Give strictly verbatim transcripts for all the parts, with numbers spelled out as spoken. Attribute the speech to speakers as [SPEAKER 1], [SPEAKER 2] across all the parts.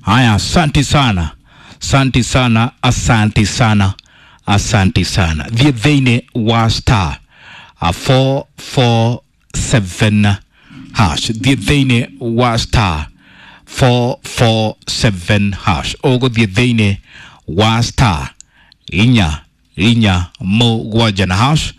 [SPEAKER 1] Haya, asanti sana, asanti sana, asanti sana, asanti sana. Thiĩ thĩinĩ wa star uh, four four seven hash. Thiĩ thĩinĩ wa star four four seven hash. Ũgũthiĩ thĩinĩ wa star inya inya mũgwanja na hash.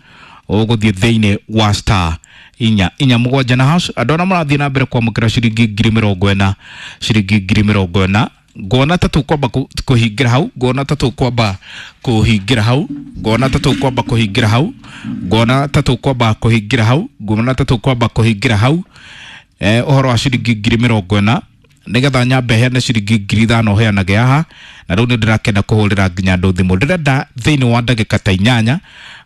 [SPEAKER 1] Ũgũthiĩ thĩinĩ wa star inya inya mũgwanja na hash. Andũ arĩa marathiĩ na mbere kwamũkĩra ciringi ngiri mĩrongo ĩna, ciringi ngiri mĩrongo ĩna, ngona ta tũkwamba kũhingĩra hau, ngona ta tũkwamba kũhingĩra hau, ngona ta tũkwamba kũhingĩra hau, ngona ta tũkwamba kũhingĩra hau, ngona ta tũkwamba kũhingĩra hau. Eh, ũhoro wa ciringi ngiri mĩrongo ĩna nigetha nyambe heane ciringi ngiri ithano heanage haha, na rĩu nĩ ndĩrakena kũhũrĩra nginya andũ thimũ. Ndĩrenda thĩinĩ wa ndagĩka ta inyanya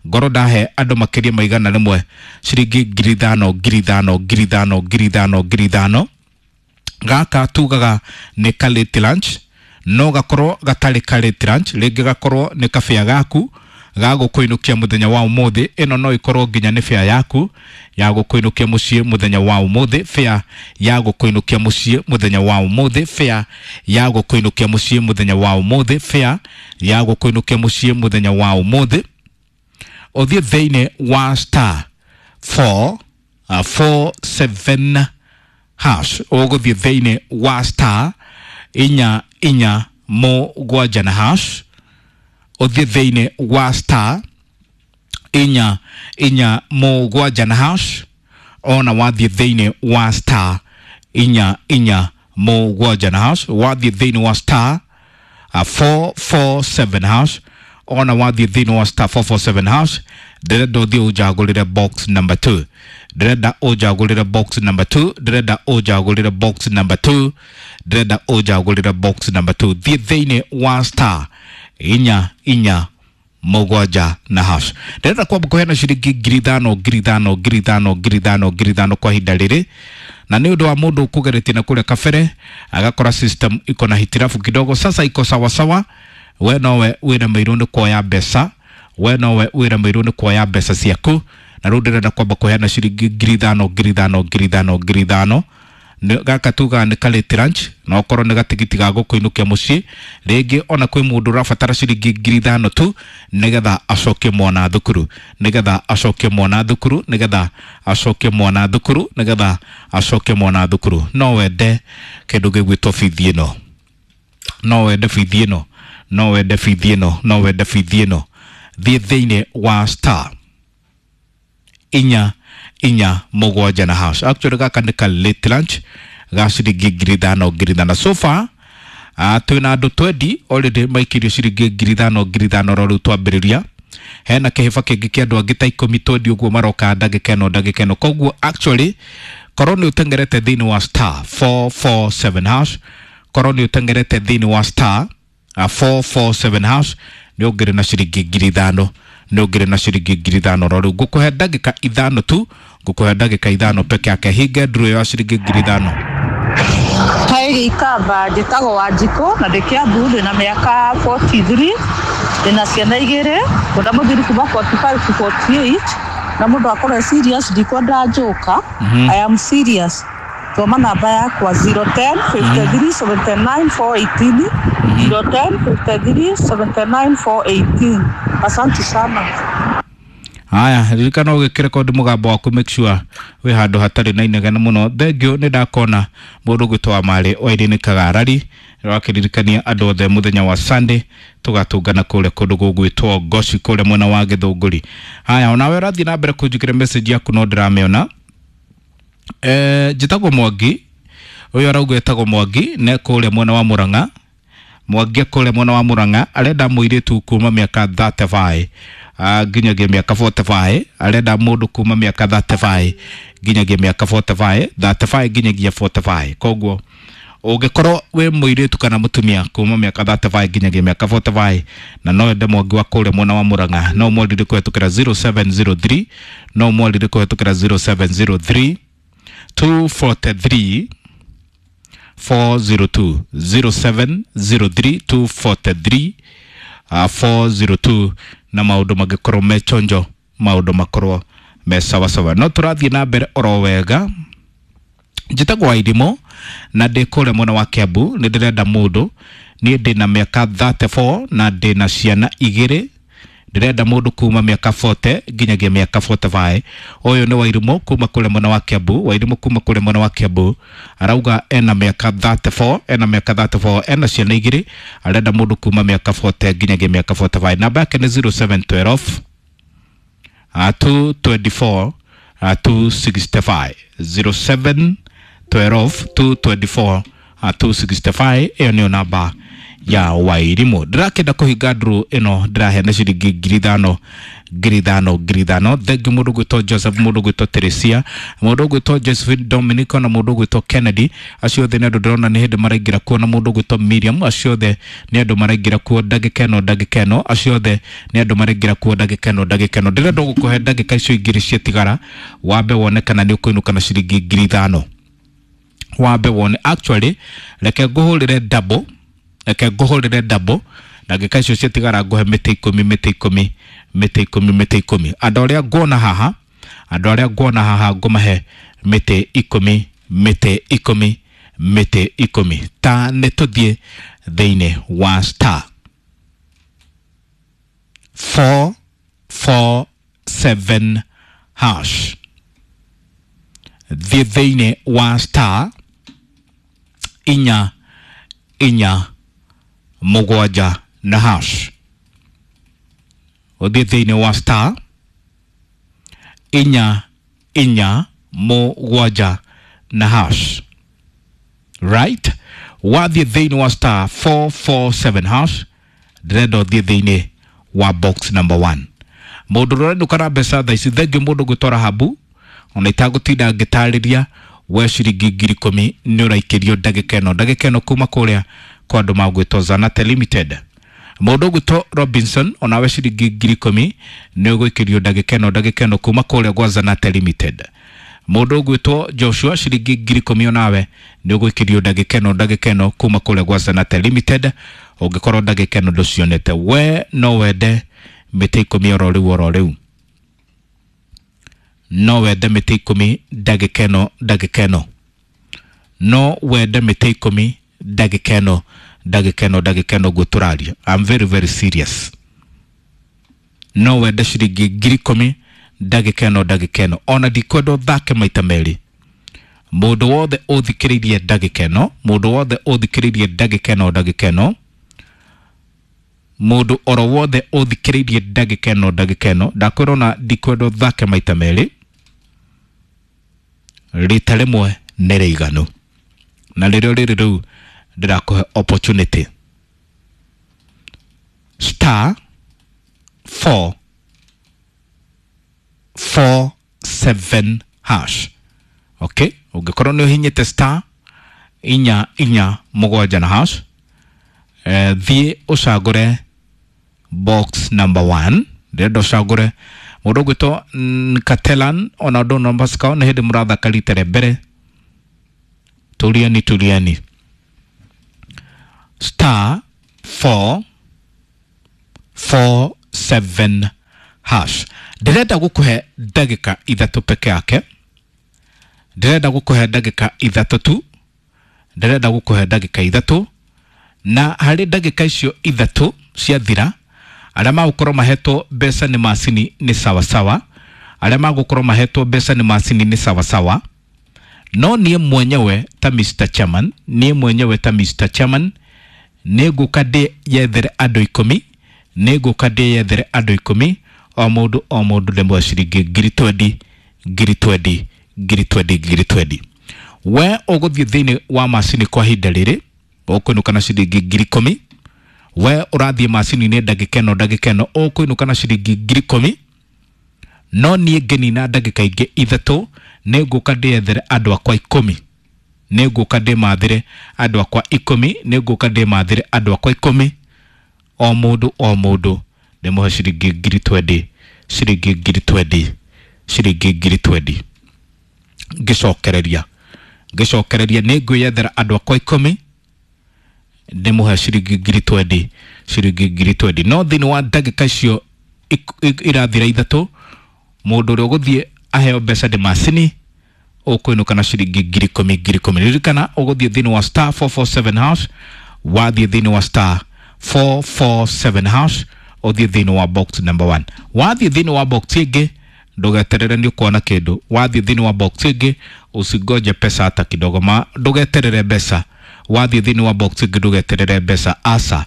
[SPEAKER 1] ngorwo ndahe andũ makĩria ma igana rĩmwe ciringi ngiri ithano, ngiri ithano, ngiri ithano, ngiri ithano, ngiri ithano. Gaka tugaga nĩ ka late lunch, no gakorwo gatarĩ ka late lunch, rĩngĩ gakorwo nĩ kabĩa gaku ga gũkũinũkia mũthenya wa ũmũthĩ. Ĩno no ĩkorwo nginya nĩ fare yaku ya gũkũinũkia mũciĩ mũthenya wa ũmũthĩ, fare ya gũkũinũkia mũciĩ mũthenya wa ũmũthĩ, fare ya gũkũinũkia mũciĩ mũthenya wa ũmũthĩ, fare ya gũkũinũkia mũciĩ mũthenya wa ũmũthĩ. Ũthiĩ thĩinĩ wa star four, uh, four seven hash. Ũgũthiĩ thĩinĩ wa star inya inya mũgwanja na hash. Ũthiĩ thĩinĩ wa star inya inya mũgwanja na hash. Ona wathiĩ thĩinĩ wa star inya inya mũgwanja na hash, wathiĩ thĩinĩ wa star uh, four four seven hash. Ona wathiĩ thĩinĩ wa star four four seven hash, ndĩrenda ũthiĩ ũnjagũrĩre box number two, ndĩrenda ũnjagũrĩre box number two, ndĩrenda ũnjagũrĩre box number two, ndĩrenda ũnjagũrĩre box number two. Thiĩ thĩinĩ wa star inya inya mũgwanja na hash. Ndĩrenda kwamba kũheana ciringi ngiri ithano, ngiri ithano, ngiri ithano, ngiri ithano, ngiri ithano kwa ihinda rĩrĩ, na nĩ ũndũ wa mũndũ ũkũgeretie na kũrĩa kabere agakora system iko na hitirafu kidogo, sasa iko sawasawa. We nowe wĩremeirwo nĩ kuoya mbeca, we nowe wĩremeirwo nĩ kuoya mbeca ciaku, na rĩu ndĩrenda kwamba kũheana ciringi ngiri ithano, ngiri ithano, ngiri ithano, ngiri ithano. Gaka tugaga nĩ ka late lunch, na okorwo nĩ gatigiti ga gũkũinũkia mũciĩ, rĩngĩ ona kwĩ mũndũ ũrabatara ciringi ngiri ithano tu nĩgetha acokie mwana thukuru, nĩgetha acokie mwana thukuru, nĩgetha acokie mwana thukuru, nĩgetha acokie mwana thukuru. No wende kĩndũ gĩgwĩtwo bithi ĩno, no wende bithi ĩno, no wende bithi ĩno, no wende bithi ĩno. Thiĩ thĩinĩ wa star inya inya mũgwanja na hash. Actually gaka nĩ ka late lunch ga ciringi ngiri ithano, ngiri ithano. So far uh, twĩna andũ twendi already maikĩrio ciringi ngiri ithano, ngiri ithano oro rĩu twambĩrĩria. Hena kĩhĩba kĩngĩ kĩa andũ angĩ ta ikũmi twendi ũguo maroka ndagĩka ĩno, ndagĩka ĩno. Koguo actually korwo nĩ ũteng'erete thĩinĩ wa star four four seven hash, korwo nĩ ũteng'erete thĩinĩ wa star uh, four four seven hash, nĩ ũngĩrĩ na ciringi ngiri ithano, nĩ ũngĩrĩ na ciringi ngiri ithano oro rĩu. Ngũkũhe ndagĩka ithano tu, ngũkũhe ndagĩka ithano peke yake. Hinge nduru ĩyo ya ciringi ngiri ithano.
[SPEAKER 2] Hi Gĩikamba, njĩtagwo Wanjikũ na ndĩ Kiambu, ndĩna mĩaka forty three, ndĩna ciana igĩrĩ, ngwenda mũthuri kuma forty five to forty eight, na mũndũ akorwo e serious, ndikwenda njoka. I am serious. Thoma namba yakwa zero ten fifty three seventy nine four eighteen, zero ten fifty three seventy nine four eighteen. Asante sana.
[SPEAKER 1] Haya, ririkana ũgĩkĩrekondi mũgambo waku, make sure wĩ handũ hatarĩ na inegene mũno. Thengiũ nĩ ndakona mũndũ ũgwĩtwo wa Marĩ wa Irene Kagarari wakĩririkania andũ othe mũthenya wa Sunday tũgatũngana kũrĩa kũndũ gũgwĩtwo Ngoci kũrĩa mwena wa Gĩthũngũri. Haya, onawe ũrathiĩ na mbere kũnjĩkĩra message yaku no ndĩramĩona. Eh, njĩtagwo Mwangi, ũyũ arauga etagwo Mwangi ne kũrĩa mwena wa Murang'a. Mwangi kũrĩa mwena wa Murang'a arenda mũirĩtu kuma mĩaka thirty five nginyagia mĩaka forty five, arenda mũndũ kuma mĩaka thirty five nginyagia mĩaka forty five, thirty five nginyagia forty five. Koguo ũngĩkorwo wĩ mũirĩtu kana mũtumia kuma mĩaka thirty five nginyagia mĩaka forty five na no wende Mwangi wa kũrĩa mwena wa Murang'a, no mwarire kũhetũkĩra zero seven zero three, no mwarire kũhetũkĩra zero seven zero three two forty three four zero two, zero seven zero three two forty three, uh, four zero two, na maũndũ mangĩkorwo me chonjo, maũndũ makorwo me sawasawa. No tũrathiĩ na mbere oro wega. Njĩtagwo Wairimũ na ndĩ kũrĩa mwena wa Kiambu, nĩ ndĩrenda mũndũ. Niĩ ndĩ na mĩaka thirty-four na ndĩ na ciana igĩrĩ, ndĩrenda mũndũ kuma mĩaka forty nginyagia mĩaka forty-five. Ũyũ nĩ Wairimũ kuma kũrĩa mwena wa Kiambu. Wairimũ kuma kũrĩa mwena wa Kiambu arauga ena mĩaka thirty-four, ena mĩaka thirty-four, ena ciana igĩrĩ, arenda mũndũ kuma mĩaka forty nginyagia mĩaka forty-five. Namba yake nĩ zero seven twelve, uh, two twenty-four, uh, two sixty-five. zero seven twelve, two twenty-four, uh, two sixty-five. Ĩyo nĩyo namba ya Wairimũ. Ndĩrakĩenda kũhinga ndũrũ ĩno, ndĩraheana ciringi ngiri ithano, ngiri ithano, ngiri ithano. Thengiũ mũndũ ũgwĩtwo Joseph, mũndũ ũgwĩtwo Teresia, mũndũ ũgwĩtwo Josephine Dominic na mũndũ ũgwĩtwo Kennedy, acio othe nĩ andũ ndĩrona nĩ hĩndĩ maraingĩra kuo, na mũndũ ũgwĩtwo Miriam, acio othe nĩ andũ maraingĩra kuo ndagĩka ĩno, ndagĩka ĩno, acio othe nĩ andũ maraingĩra kuo ndagĩka ĩno, ndagĩka ĩno. Ndĩrenda gũkũhe ndagĩka icio igĩrĩ ciatigara, wambe wone kana nĩ ũkũinũka na ciringi ngiri ithano. Wambe wone, actually reke ngũhũrĩre double, reke ngũhũrĩre double ndagĩka icio ciatigara, ngũhe mĩtĩ ikũmi, mĩtĩ ikũmi, mĩtĩ ikũmi, mĩtĩ ikũmi. Andũ arĩa nguona haha, andũ arĩa nguona haha ngũmahe mĩtĩ ikũmi, mĩtĩ ikũmi, mĩtĩ ikũmi. Ta nĩ tũthiĩ thĩinĩ wa star four four seven hash. Thiĩ thĩinĩ wa star inya inya mũgwanja na hash. Ũthiĩ thĩinĩ wa star inya inya mũgwanja na hash. Right? Wathiĩ thĩinĩ wa star four four seven hash, ndĩrenda ũthiĩ thĩinĩ wa box number one. Mũndũ ũrĩa ũrenũka na mbeca thaa ici, thengiũ mũndũ ũgwĩtwo Rahabu, ona itagũtinda ngĩtarĩria, we ciringi ngiri ikũmi nĩ ũraikĩrio ndagĩka ĩno, ndagĩka ĩno kuma kũrĩa kwa andũ magwĩtwo Zanate Limited. Mũndũ ũgwĩtwo Robinson, onawe ciringi ngiri ikũmi nĩ ũgũikĩrio ndagĩka ĩno, ndagĩka ĩno kuma kũrĩa gwa Zanate Limited. Mũndũ ũgwĩtwo Joshua, ciringi ngiri ikũmi onawe nĩ ũgũikĩrio ndagĩka ĩno, ndagĩka ĩno kuma kũrĩa gwa Zanate Limited. Ũngĩkorwo ndagĩka ĩno ndũcionete, we no wende mĩtĩ ikũmi oro rĩu, oro rĩu. No wende mĩtĩ ikũmi ndagĩka ĩno, ndagĩka ĩno. No wende mĩtĩ ikũmi ndagĩka ĩno, ndagĩka ĩno, ndagĩka ĩno ũguo tũraria. I'm very very serious. No wende ciringi ngiri ikũmi ndagĩka ĩno, ndagĩka ĩno. Ona ndikwenda ũthake maita merĩ. Mũndũ wothe ũthikĩrĩirie ndagĩka ĩno, mũndũ wothe ũthikĩrĩirie ndagĩka ĩno, ndagĩka ĩno, mũndũ oro wothe ũthikĩrĩirie ndagĩka ĩno, ndagĩka ĩno, ndakwĩra ona ndikwenda ũthake maita merĩ, rita rĩmwe nĩ rĩiganu. Na rĩrĩa rĩrĩ rĩu ndĩrakũhe opportunity. Star four four seven hash. Okay, ũngĩkorwo nĩ ũhinyĩte star inya inya mũgwanja na hash, eh, thiĩ ũcagũre box number one. Ndĩrenda ũcagũre mũndũ ũgwĩtwo Nkatelan, ona ũndũ no Pascal, nĩ hĩndĩ mũrathaka rita rĩa mbere. Tulieni, tulieni. Star four four seven hash. Ndĩrenda gũkũhe ndagĩka ithatũ peke yake. Ndĩrenda gũkũhe ndagĩka ithatũ tu. Ndĩrenda gũkũhe ndagĩka ithatũ. Na harĩ ndagĩka icio ithatũ ciathira, arĩa magũkorwo mahetwo mbeca nĩ macini nĩ sawasawa, arĩa magũkorwo mahetwo mbeca nĩ macini nĩ sawasawa. No niĩ mwenyewe ta Mister Chairman, niĩ mwenyewe ta Mister Chairman, nĩ ngũka ndĩyethere andũ ikũmi, nĩ ngũka ndĩyethere andũ ikũmi, o mũndũ o mũndũ ndĩmũhe ciringi ngiri twendi, ngiri twendi, ngiri twendi, ngiri twendi. We ũgũthiĩ thĩinĩ wa macini kwa ihinda rĩrĩ, ũkũinũka na ciringi ngiri ikũmi. We ũrathiĩ macini-inĩ ndagĩka ĩno, ndagĩka ĩno, ũkũinũka na ciringi ngiri ikũmi. No niĩ ngĩnina ndagĩka ingĩ ithatũ, nĩ ngũka ndĩyethere andũ akwa ikũmi. Nĩ ngũka ndĩmathĩre andũ akwa ikũmi, nĩ ngũka ndĩmathĩre andũ akwa ikũmi. O mũndũ o mũndũ ndĩmũhe ciringi ngiri twendi, ciringi ngiri twendi, ciringi ngiri twendi. Ngĩcokereria, ngĩcokereria nĩ ngwĩyethera andũ akwa ikũmi, ndĩmũhe ciringi ngiri twendi, ciringi ngiri twendi. No thĩinĩ wa ndagĩka icio irathira ithatũ, mũndũ ũrĩa ũgũthiĩ aheo mbeca nĩ macini, Ũkũinũka na ciringi ngiri ikũmi ngiri ikũmi. Ririkana ũgũthiĩ thĩinĩ wa star four four seven hash, wathiĩ thĩinĩ wa star four four seven hash, ũthiĩ thĩinĩ wa box number one. Wathiĩ thĩinĩ wa box ĩngĩ ndũgeterere nĩ ũkuona kĩndũ. Wathiĩ thĩinĩ wa box ĩngĩ usingoje pesa hata kidogo, ma ndũgeterere mbeca. Wathiĩ thĩinĩ wa box ĩngĩ ndũgeterere mbeca, aca,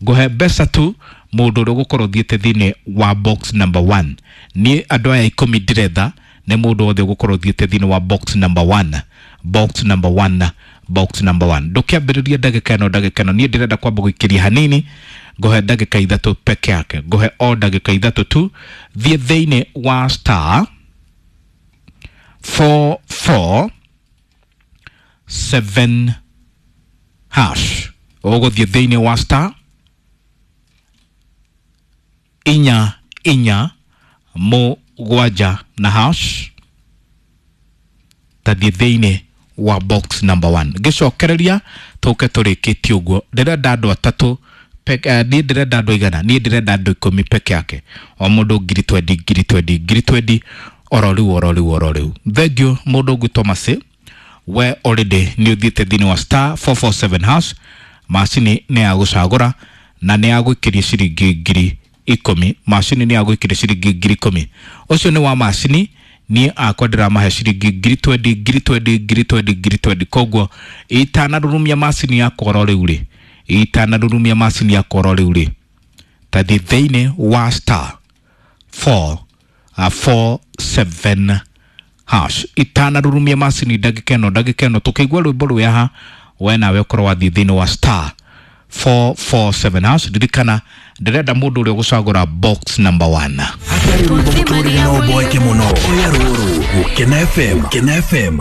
[SPEAKER 1] ngũhe mbeca tu mũndũ ũrĩa ũgũkorwo ũthiĩte thĩinĩ wa box number one. Niĩ andũ aya ikũmi ndĩretha nĩ mũndũ wothe ũgũkorwo ũthiĩte thĩinĩ wa box number one, box number one, box number one. Ndũkĩambĩrĩria ndagĩka ĩno, ndagĩka ĩno niĩ ndĩrenda kwamba gũikĩria hanini, ngũhe ndagĩka ithatũ peke yake, ngũhe o ndagĩka ithatũ tu. Thiĩ thĩinĩ wa star four four seven hash, ũgũthiĩ thĩinĩ wa star inya inya mũgwanja na hash, tathiĩ thĩinĩ wa box number one. Ngĩcokereria tũke tũrĩkĩtie ũguo, ndĩrenda andũ atatũ peke, uh, niĩ ndĩrenda andũ igana, niĩ ndĩrenda andũ ikũmi peke yake, o mũndũ ngiri twendi ngiri twendi ngiri twendi oro rĩu oro rĩu oro rĩu. Thengiũ mũndũ ũgwĩtwo Mercy, we already nĩ ũthiĩte thĩinĩ wa star four four seven hash, macini nĩ ya gũcagũra na nĩ ya gwĩkĩria ciringi ngiri ikũmi, macini nĩ ya gwĩkĩria ciringi ngiri ikũmi. Ũcio nĩ wa macini, niĩ akwa ndĩramahe ciringi ngiri twendi ngiri twendi ngiri twendi ngiri twendi. Koguo itanarurumia macini yakwa oro rĩu rĩ, itanarurumia macini yakwa oro rĩu rĩ, tathiĩ thĩinĩ wa star four uh, four seven hash, itanarurumia macini ndagĩka ĩno, ndagĩka ĩno tũkĩigua rwĩmbo rwĩ haha, we nawe ũkorwo wathiĩ thĩinĩ wa star four four seven hash. Ririkana ndĩrenda mũndũ ũrĩa ũgũcagũra box number one.
[SPEAKER 3] Hatarĩ rwĩmbo mũtũrĩre no ũboeke mũno. Oya rũrũ Gũkena F M, Gũkena F M.